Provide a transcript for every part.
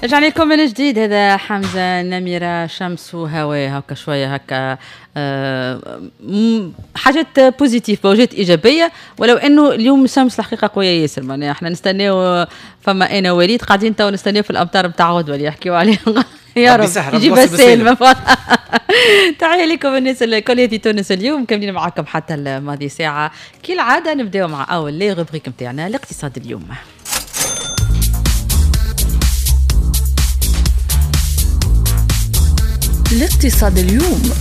رجعنا لكم من جديد. هذا حمزة نميرة، شمس وهواء، هكا شوية هكا حاجات positives، موجات ايجابيه، ولو انه اليوم الشمس الحقيقة قوية ياسر. معناها احنا نستناو، فما انا وليد قاعدين تو نستناو في الامطار نتاع غدوه اللي يحكيو عليهم. يا رب يجيب السالمة. تحية لكم الناس الكل في تونس اليوم، مكملين معكم حتى الماضي ساعة كالعادة. نبداو مع اول les rubriques نتاعنا، الاقتصاد اليوم. الاقتصاد اليوم.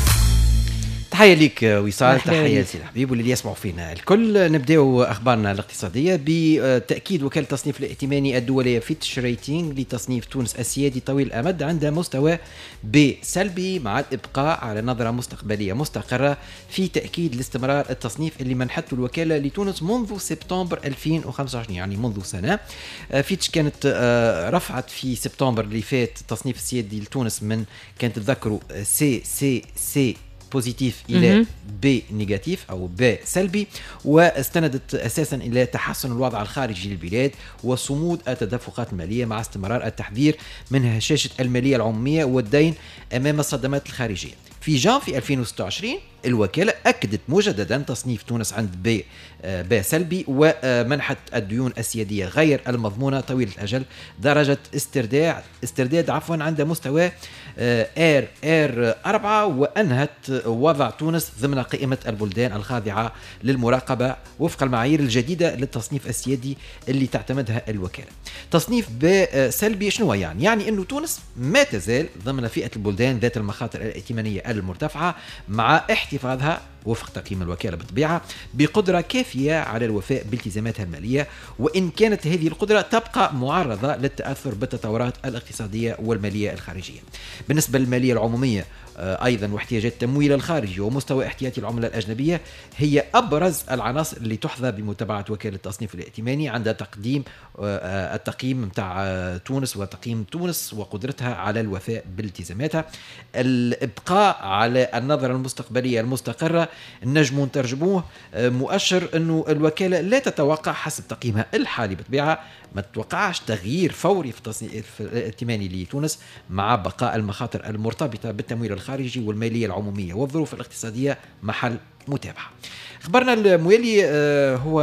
تحية ليك وصال، تحية لسي الحبيب واللي يسمعوا فينا الكل. نبداو أخبارنا الاقتصادية بتأكيد وكالة التصنيف الائتماني الدولية فيتش ريتينغ لتصنيف تونس السيادي طويل الأمد عند مستوى B سلبي، مع الإبقاء على نظرة مستقبلية مستقرة، في تأكيد لاستمرار التصنيف اللي منحته الوكالة لتونس منذ سبتمبر 2025، يعني منذ سنة. فيتش كانت رفعت في سبتمبر اللي فات التصنيف السيادي لتونس من، كانت تذكروا، CCC positif الى B négatif او B سلبي، واستندت اساسا الى تحسن الوضع الخارجي للبلاد وصمود التدفقات المالية، مع استمرار التحذير من هشاشة المالية العمومية والدين امام الصدمات الخارجية. في جانفي 2026 الوكالة أكدت مجددا تصنيف تونس عند B سلبي، ومنحت الديون السيادية غير المضمونة طويلة الأجل درجة استرداد عفوا عند مستوى RR 4، وأنهت وضع تونس ضمن قائمة البلدان الخاضعة للمراقبة وفق المعايير الجديدة للتصنيف السيادي اللي تعتمدها الوكالة. تصنيف B سلبي شنو يعني؟ يعني أنه تونس ما تزال ضمن فئة البلدان ذات المخاطر الائتمانية المرتفعة، مع احتفاظها وفق تقييم الوكالة بالطبيعة بقدرة كافية على الوفاء بالتزاماتها المالية، وإن كانت هذه القدرة تبقى معرضة للتأثر بالتطورات الاقتصادية والمالية الخارجية. بالنسبة للمالية العمومية أيضا واحتياجات التمويل الخارجي ومستوى احتياطي العملة الأجنبية هي أبرز العناصر اللي تحظى بمتابعة وكالة التصنيف الائتماني عند تقديم التقييم متاع تونس وتقييم تونس وقدرتها على الوفاء بالتزاماتها. الإبقاء على النظرة المستقبلية المستقرة نجم نترجموه مؤشر أنه الوكالة لا تتوقع حسب تقييمها الحالي بالطبيعة ما تتوقعش تغيير فوري في التصنيف الائتماني لتونس، مع بقاء المخاطر المرتبطة بالتمويل الخارجي والمالية العمومية والظروف الاقتصادية محل متابعة. خبرنا الموالي هو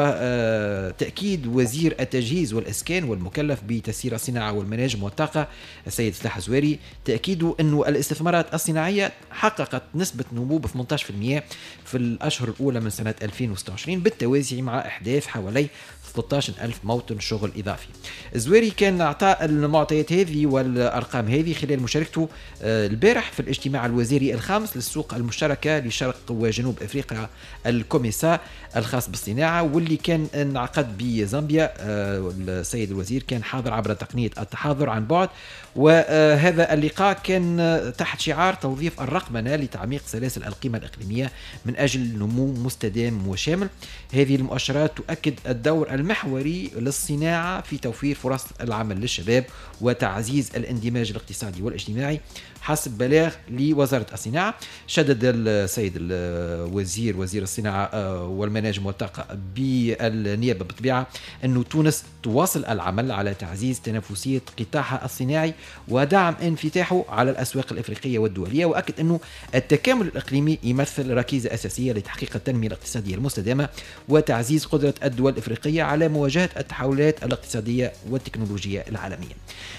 تأكيد وزير التجهيز والإسكان والمكلف بتسيير الصناعة والمناجم والطاقة السيد سلاح الزواري، تأكيده أنه الاستثمارات الصناعية حققت نسبة نمو ب 18% في الأشهر الأولى من سنة 2026، بالتوازي مع إحداث حوالي 13 ألف موطن شغل إضافي. الزواري كان أعطى المعطيات هذه والأرقام هذه خلال مشاركته البارح في الاجتماع الوزيري الخامس للسوق المشتركة لشرق وجنوب أفريقيا الكوميسا الخاص بالصناعة، واللي كان انعقد بزامبيا. السيد الوزير كان حاضر عبر تقنية التحاضر عن بعد، وهذا اللقاء كان تحت شعار توظيف الرقمنة لتعميق سلاسل القيمة الإقليمية من أجل نمو مستدام وشامل. هذه المؤشرات تؤكد الدور المحوري للصناعة في توفير فرص العمل للشباب وتعزيز الاندماج الاقتصادي والاجتماعي حسب بلاغ لوزارة الصناعة. شدد السيد الوزير وزير الصناعة والمناجم والطاقة بالنيابة بالطبيعة أن تونس تواصل العمل على تعزيز تنافسية قطاعها الصناعي ودعم انفتاحه على الأسواق الإفريقية والدولية، وأكد أنه التكامل الإقليمي يمثل ركيزة أساسية لتحقيق التنمية الاقتصادية المستدامة وتعزيز قدرة الدول الإفريقية على مواجهة التحولات الاقتصادية والتكنولوجية العالمية.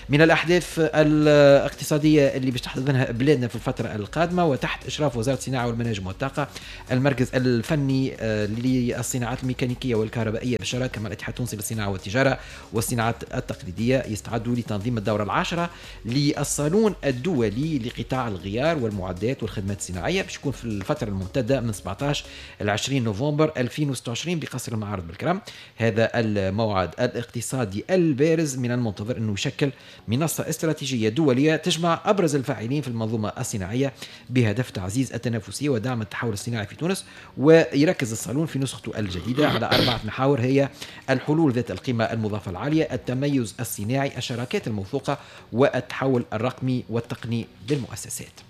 من الأحداث الاقتصادية اللي باش تحتضنها بلادنا في الفترة القادمة وتحت إشراف وزارة الصناعة والمناجم والطاقة، المركز الفني للصناعات الميكانيكية والكهربائية بالشراكة مع الاتحاد التونسي للصناعة والتجارة والصناعات التقليدية يستعدوا لتنظيم الدورة العاشرة للصالون الدولي لقطاع الغيار والمعدات والخدمات الصناعية، باش يكون في الفترة الممتدة من 17 إلى 20 نوفمبر 2026 بقصر المعارض بالكرم. هذا الموعد الاقتصادي البارز من المنتظر أنه يشكل منصة استراتيجية دولية تجمع أبرز الفاعلين في المنظومة الصناعية بهدف تعزيز التنافسية ودعم التحول الصناعي في تونس. ويركز الصالون في نسخته الجديدة على 4 محاور هي الحلول ذات القيمة المضافة العالية، التميز الصناعي، الشراكات الموثوقة، والتحول الرقمي والتقني للمؤسسات.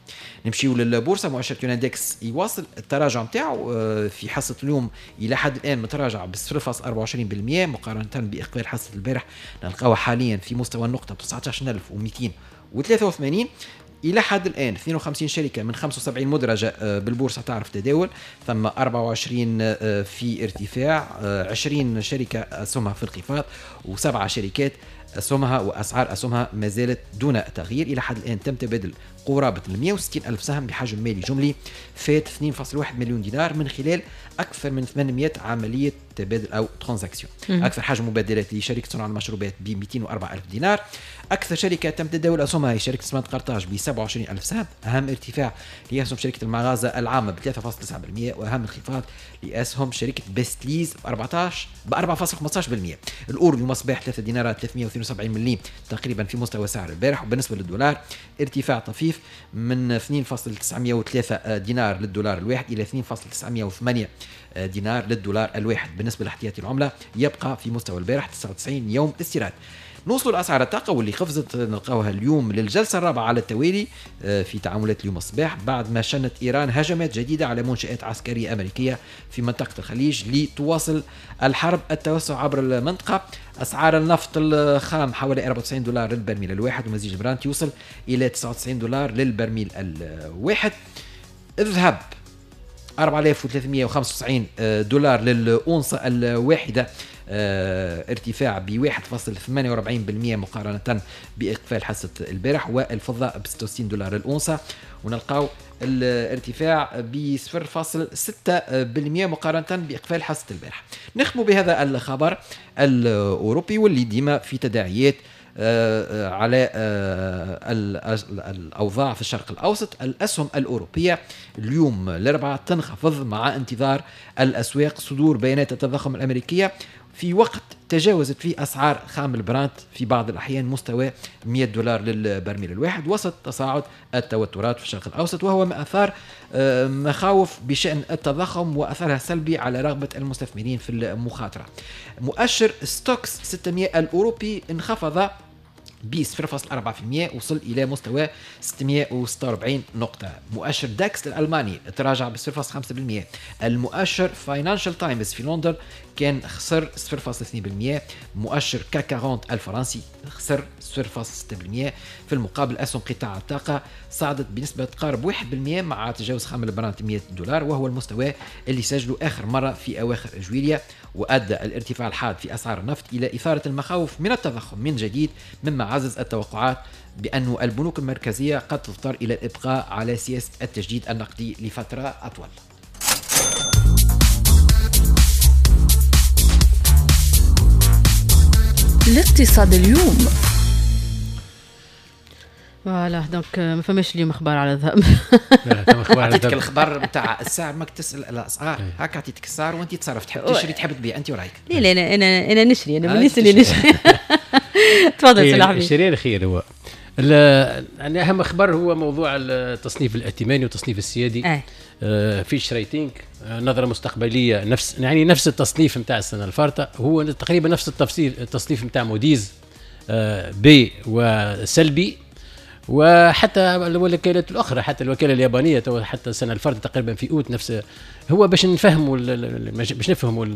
نمشيو للبورصه، مؤشر توناندكس يواصل التراجع نتاعو في حصة اليوم الى حد الان متراجع ب 0.24% مقارنة باقفال حصة البارح، نلقاوها حاليا في مستوى النقطة 19283. الى حد الان 52 شركة من 75 مدرجة بالبورصه تعرف تداول، ثم 24 في ارتفاع، 20 شركة اسهمها في انخفاض، وسبعة شركات اسهمها واسعار اسهمها ما زالت دون تغيير. الى حد الان تم تبادل قرابة 160 الف سهم بحجم مالي جملي فات 2.1 مليون دينار من خلال اكثر من 800 عملية تبادل او transaction. اكثر حجم مبادلات لشركة صنع المشروبات ب 204 الف دينار. اكثر شركة تم تداول اسهمها هي شركة سمنت قرطاج ب 27 الف سهم. اهم ارتفاع لاسهم شركة المغازه العامة ب 3.9%، واهم انخفاض لاسهم شركة بستليز ب 4.15%. الاورو اليوم صباح 3 دينارات 372 مليم تقريبا في مستوى سعر البارح. وبالنسبة للدولار ارتفاع طفيف من 2.903 دينار للدولار الواحد الى 2.908 دينار للدولار الواحد. بالنسبة لاحتياطي العملة يبقى في مستوى البارح 99 يوم استيراد. نوصلوا لأسعار الطاقة واللي قفزت نلقاوها اليوم للجلسة الرابعة على التوالي في تعاملات اليوم الصباح، بعد ما شنت إيران هجمات جديدة على منشآت عسكرية أمريكية في منطقة الخليج لتواصل الحرب التوسع عبر المنطقة. أسعار النفط الخام حوالي 94 دولار للبرميل الواحد، ومزيج البرانت يوصل إلى 99 دولار للبرميل الواحد. الذهب 4395 دولار للأونصة الواحدة، ارتفاع ب 1.48% مقارنة بإقفال حصة البارح. والفضة ب 66 دولار الأونصة، ونلقاو الارتفاع ب 0.6% مقارنة بإقفال حصة البارح. نختم بهذا الخبر الأوروبي واللي ديما في تداعيات على الأوضاع في الشرق الأوسط. الأسهم الأوروبية اليوم الأربعاء تنخفض مع انتظار الأسواق صدور بيانات التضخم الأمريكية في وقت تجاوزت فيه أسعار خام البرانت في بعض الأحيان مستوى 100 دولار للبرميل الواحد، وسط تصاعد التوترات في الشرق الأوسط، وهو ما أثار مخاوف بشأن التضخم وأثرها السلبي على رغبة المستثمرين في المخاطرة. مؤشر ستوكس 600 الأوروبي انخفض ب 0.4%، وصل إلى مستوى 646 نقطة. مؤشر داكس الألماني تراجع ب 0.5%. المؤشر فاينانشال تايمز في لندن كان خسر 0.2%. مؤشر CAC 40 الفرنسي خسر 0.6%. في المقابل أسهم قطاع الطاقة صعدت بنسبة تقارب 1% مع تجاوز خام البرانت 100 دولار، وهو المستوى اللي سجله آخر مرة في أواخر جويليا. وأدى الارتفاع الحاد في أسعار النفط إلى إثارة المخاوف من التضخم من جديد، مما عزز التوقعات بأن البنوك المركزية قد تضطر إلى الإبقاء على سياسة التجديد النقدي لفترة أطول. الاقتصاد اليوم. voilà donc ما فماش اليوم اخبار على الذهب. عطيتك الخبر نتاع السعر، ماك تسال الاسعار، هاك عطيتك السعر وانت تصرف، تحب تشري تحب تبيع، انت ورايك. لا لا انا انا نشري، انا من الناس اللي نشري. تفضل سي الحبيب. الشري الخير هو يعني اهم خبر هو موضوع التصنيف الائتماني والتصنيف السيادي. Fitch Ratings نظره مستقبلية، نفس يعني نفس التصنيف نتاع السنة الفارطه، هو تقريبا نفس التصنيف نتاع موديز B وسلبي، وحتى الوكالات الاخرى، حتى الوكالة اليابانية حتى السنة الفارطه تقريبا في اوت نفس. هو باش نفهموا باش نفهموا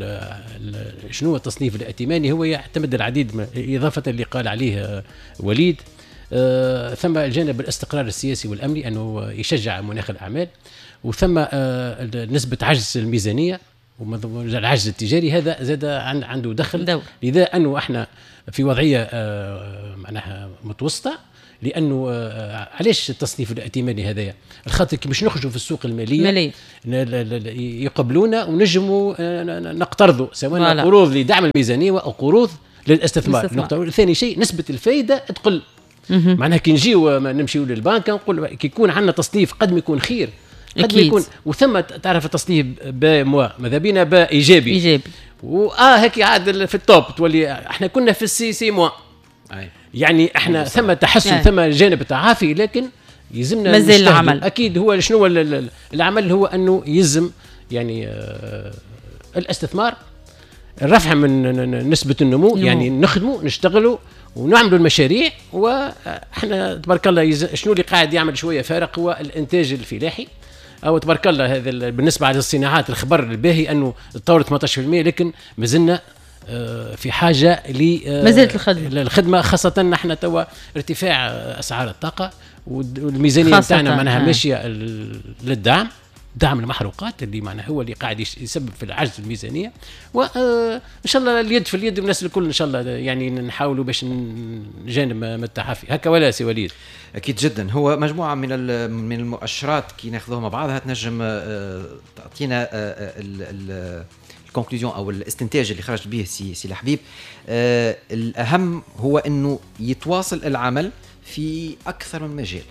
شنو التصنيف الائتماني، هو يعتمد العديد اضافه اللي قال عليه وليد. ثم الجانب الاستقرار السياسي والامني، انه يشجع مناخ الاعمال، وثم نسبه عجز الميزانية والعجز التجاري، هذا زاد عنده دخل. لذا انه احنا في وضعية معناها متوسطه، لانه علاش التصنيف الائتماني هذايا؟ الخاطر كي باش نخرجوا في السوق المالية يقبلونا ونجموا نقترضوا، سواء قروض لدعم الميزانية او قروض للاستثمار. ثاني شيء نسبه الفائدة تقل. معناها كي نجيو نمشيو للبنك نقول كي يكون عندنا تصنيف قد ما يكون خير، قد ما يكون. وثم تعرف التصنيف B moins، ماذا بينا B ايجابي، ايجابي هيك عاد في ال top تولي. احنا كنا في ال C C moins، يعني احنا ثم تحسن، ثم جانب تعافي، لكن يلزمنا مازال العمل. اكيد هو شنو العمل؟ هو انه يلزم يعني الاستثمار، الرفع من نسبه النمو، يعني نخدموا نشتغلوا ونعملوا المشاريع. واحنا تبارك الله شنو اللي قاعد يعمل شوية فارق هو الانتاج الفلاحي، او تبارك الله هذا بالنسبة للصناعات. الخبر الباهي انه تطورت 18%، لكن مازلنا في حاجة ل مازالت الخدمة، خاصة نحن توا ارتفاع اسعار الطاقة والميزانيه نتاعنا معناها ماشية للدعم، دعم المحروقات اللي معناها هو اللي قاعد يسبب في العجز الميزانية. وان شاء الله اليد في اليد والناس الكل ان شاء الله يعني نحاولوا باش نجانب من التحفي هكا، ولا سي وليد؟ اكيد جدا. هو مجموعة من المؤشرات كي ناخذوها مع بعضها تنجم تعطينا ال conclusion او الاستنتاج اللي خرج به سي الحبيب. الاهم هو انه يتواصل العمل في اكثر من مجال،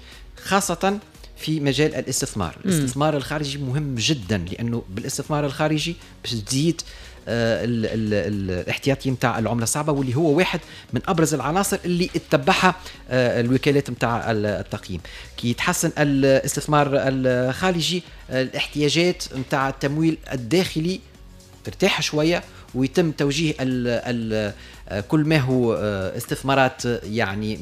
خاصة في مجال الاستثمار. الاستثمار الخارجي مهم جدا، لانه بالاستثمار الخارجي باش تزيد الاحتياطي نتاع العملة الصعبة، واللي هو واحد من ابرز العناصر اللي اتبعها الوكالات نتاع التقييم. كي يتحسن الاستثمار الخارجي، الاحتياجات نتاع التمويل الداخلي ترتاح شوية، ويتم توجيه كل ما هو استثمارات يعني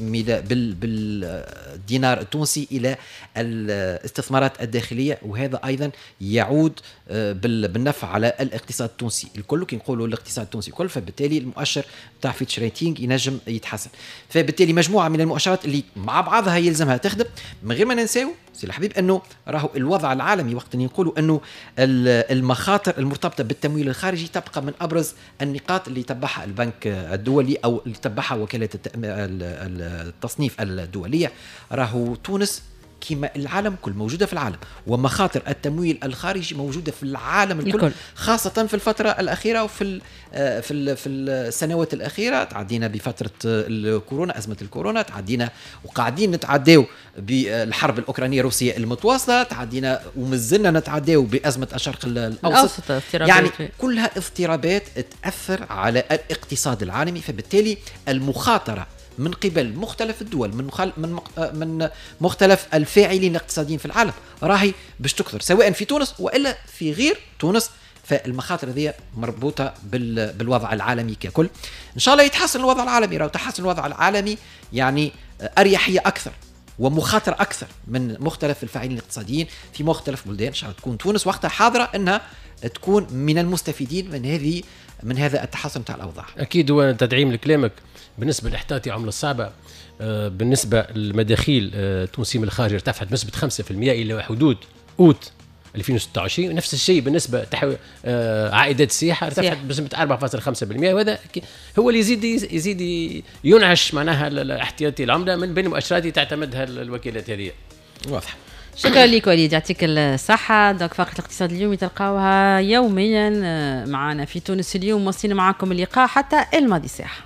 بالدينار التونسي الى الاستثمارات الداخلية، وهذا ايضا يعود بالنفع على الاقتصاد التونسي الكل. كي نقولوا الاقتصاد التونسي الكل، فبالتالي المؤشر تاع Fitch Rating ينجم يتحسن. فبالتالي مجموعة من المؤشرات اللي مع بعضها يلزمها تخدم، من غير ما ننساو سي الحبيب انه راهو الوضع العالمي، وقت اللي نقولوا انه المخاطر المرتبطة بالتمويل الخارجي تبقى من ابرز النقاط اللي تبعها البنك الدولي او اللي تبعها وكالة التصنيف الدولية. راهو تونس كما العالم كل موجودة في العالم، ومخاطر التمويل الخارجي موجودة في العالم الكل، خاصة في الفترة الأخيرة وفي في في السنوات الأخيرة. تعدينا بفترة الكورونا، أزمة الكورونا، تعدينا وقاعدين نتعداو بالحرب الأوكرانية الروسية المتواصلة، تعدينا ومازلنا نتعداو بأزمة الشرق الأوسط. يعني كلها اضطرابات تأثر على الاقتصاد العالمي، فبالتالي المخاطرة من قبل مختلف الدول، من مختلف الفاعلين الاقتصاديين في العالم راهي باش تكثر، سواء في تونس والا في غير تونس. فالمخاطر هذه مربوطة بالوضع العالمي ككل. ان شاء الله يتحسن الوضع العالمي. راهو تحسن الوضع العالمي يعني اريحية اكثر ومخاطر اكثر من مختلف الفاعلين الاقتصاديين في مختلف بلدان. ان شاء الله تكون تونس وقتها حاضره انها تكون من المستفيدين من هذا التحسن تاع الاوضاع. اكيد. وتدعيم لكلامك بالنسبة لاحتياطي عمله الصعبة، بالنسبة للمداخيل التونسية من الخارج ارتفعت بنسبة 5% الى حدود اوت 2026. نفس الشيء بالنسبة عائدات السياحة ارتفعت بنسبة 4.5%، وهذا هو اللي يزيد ينعش معناها احتياطي العملة من بين المؤشرات اللي تعتمدها الوكالات هذه. واضح. شكرا لك وليد، يعطيك الصحة. donc فقرة الاقتصاد اليومي تلقاوها يوميا معنا في تونس اليوم. وصلنا معكم اللقاء حتى الماضي ساعة.